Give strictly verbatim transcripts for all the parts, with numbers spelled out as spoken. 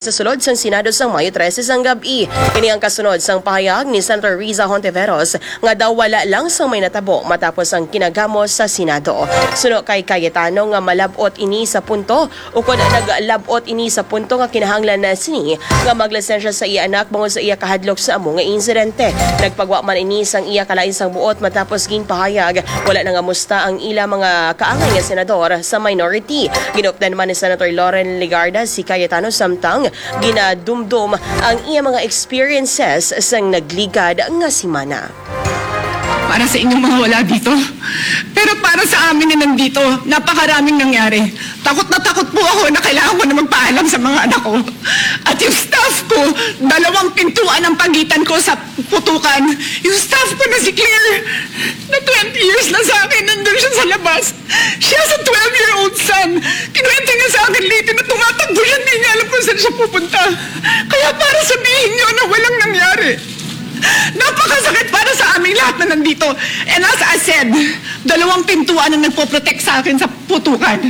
sa sulod sang Senado sang Mayo trese sang gab-i. Ini ang kasunod sang pahayag ni Senator Riza Hontiveros nga daw wala lang sang may natabo matapos ang kinagamos sa Senado. Suno kay Cayetano nga malab-ot ini sa punto, ukon naglab-ot ini sa punto nga kinahanglan na sini nga maglisensya sa iya anak bangod sa iya kahadlok sa amo nga insidente. Nagpagwa man ini sang iya kalain sang buot matapos ginpahayag wala na nga musta ang ila mga kaangay nga senador sa minority. Ginupdan man ni Senator Loren Legarda si Cayetano samtang ginadumdom ang iya mga experiences sang nagligad nga semana. Para sa inyong mga wala dito, pero para sa amin na nandito, napakaraming nangyari. Takot na takot po ako na kailangan ko na magpaalam sa mga anak ko. At yung staff ko, dalawang pintuan ang pagitan ko sa putukan. Yung staff ko na si Claire, na twenty years na sa akin, nandun siya sa labas. She has a twelve-year-old son. Kinuwento niya sa akin later na tumatakbo siya, hindi niya alam kung saan siya pupunta. Kaya para sabihin niyo na walang nangyari. Napakasakit para sa aming lahat na nandito. And as I said, dalawang pintuan ang nagpo-protect sa akin sa putukan.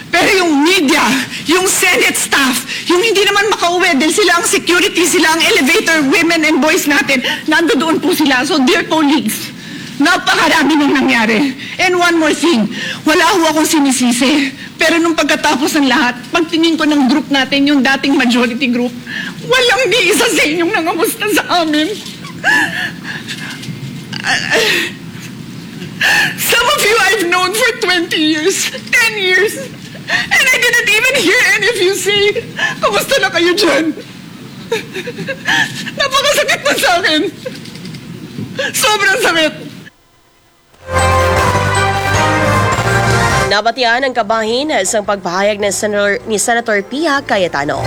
Pero yung media, yung Senate staff, yung hindi naman makauwi dahil sila ang security, sila ang elevator, women and boys natin, nandoon po sila. So, dear colleagues, napakarami nang nangyari. And one more thing, wala ho akong sinisisi. Pero nung pagkatapos ng lahat, pagtingin ko ng group natin, yung dating majority group, walang ni isa sa inyong nangamusta sa amin. Some of you I've known for twenty years, ten years, and I didn't even hear any of you say, "Kamusta na kayo dyan?" Napakasakit na sa akin. Sobrang sakit. Nabatian ang kabahin sang pagpahayag ni Senator, ni Senator Pia Cayetano.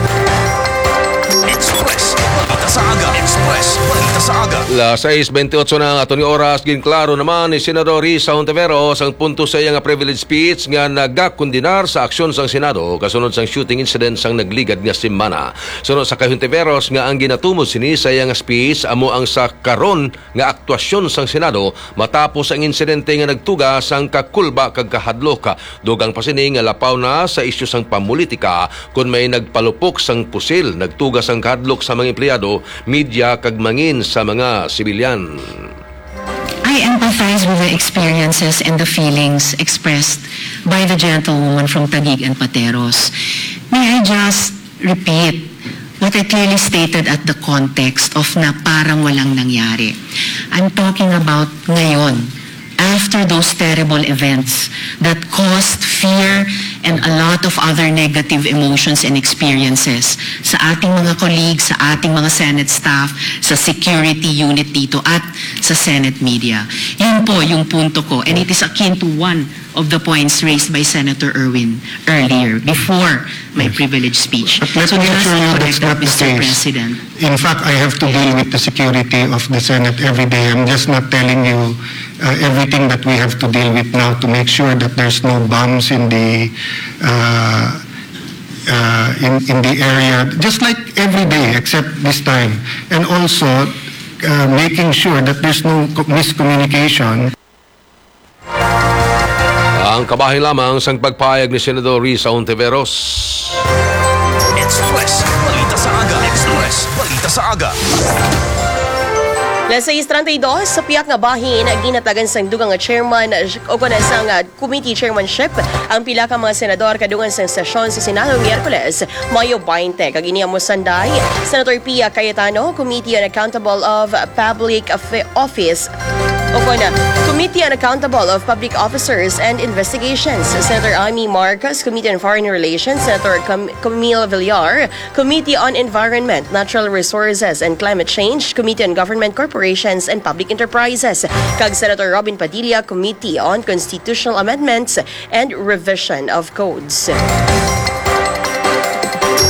Express Balita sa Aga. Express Balita sa Aga. Las sais bentiocho na ang aton nga oras. Ginklaro naman ni Senador Risa Hontiveros ang punto sa iya nga privilege speech nga nagakondenar sa aksyon sang Senado kasunod sang shooting incident sang nagligad nga semana. Suno sa kay Hontiveros nga ang ginatumod sini sa iya nga speech amo ang sa karon nga aktuasyon sang Senado matapos ang insidente nga nagtuga sang kakulba kag kahadlok. Dugang pa sini nga lapaw na sa isyu sang pamulitika kon may nagpalupok sang pusil, nagtuga sang kahadlok sa mga empleyado, media kag mangin sa mga sibilyan. I empathize with the experiences and the feelings expressed by the gentlewoman from Taguig and Pateros. May I just repeat what I clearly stated at the context of na parang walang nangyari. I'm talking about ngayon, after those terrible events that caused fear and a lot of other negative emotions and experiences sa ating mga colleagues, sa ating mga Senate staff, sa security unit dito at sa Senate media. Yun po yung punto ko. And it is akin to one of the points raised by Senator Erwin earlier, before my privilege speech. But let So me just assure you to that's correct that, not the Mister case. President. In fact, I have to deal with the security of the Senate every day. I'm just not telling you uh, everything that we have to deal with now to make sure that there's no bombs in the uh, uh, in, in the area, just like every day except this time. And also uh, making sure that there's no co- miscommunication. Ang kabahin lamang sang pagpahayag ni Senador Risa Hontiveros. Express Balita sa Aga. Express Balita sa Aga. Las sais treinta y dos, sa piyak nga bahin, ginhatagan sang dugang nga chairman o kon sang, ah, committee chairmanship ang pila ka mga senador kadungan sang sesyon sa Senado Miyerkules, Mayo twenty, kag ini amo sanday: Senator Pia Cayetano, Committee on Accountable of Public Affa- Office, o kon, ah, Committee on Accountable of Public Officers and Investigations; Senator Imee Marcos, Committee on Foreign Relations; Senator Cam- Camille Villar, Committee on Environment, Natural Resources, and Climate Change; Committee on Government Corporations and Public Enterprises; kag Senator Robin Padilla, Committee on Constitutional Amendments and Revision of Codes.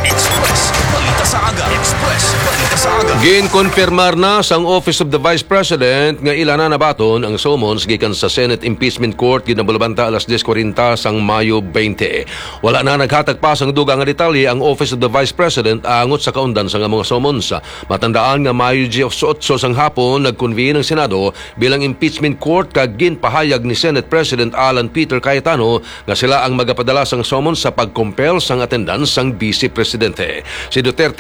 Express Balita sa Aga. Express Balita sa Aga. Ginkonfirmar na sang Office of the Vice President nga ila na nabaton ang summons gikan sa Senate Impeachment Court ginabalubanta alas diez kuwarenta sang Mayo twenty. Wala na naghatag pa sang dugang nga detalye ang Office of the Vice President angot sa kaundan sang mga summons. Matandaan nga Mayo diyesotso sang hapon nagconvene ang Senado bilang impeachment court kag ginpahayag ni Senate President Alan Peter Cayetano nga sila ang magapadala sang summons sa pag-compel sang attendance sang Vice Presidente. Si Duterte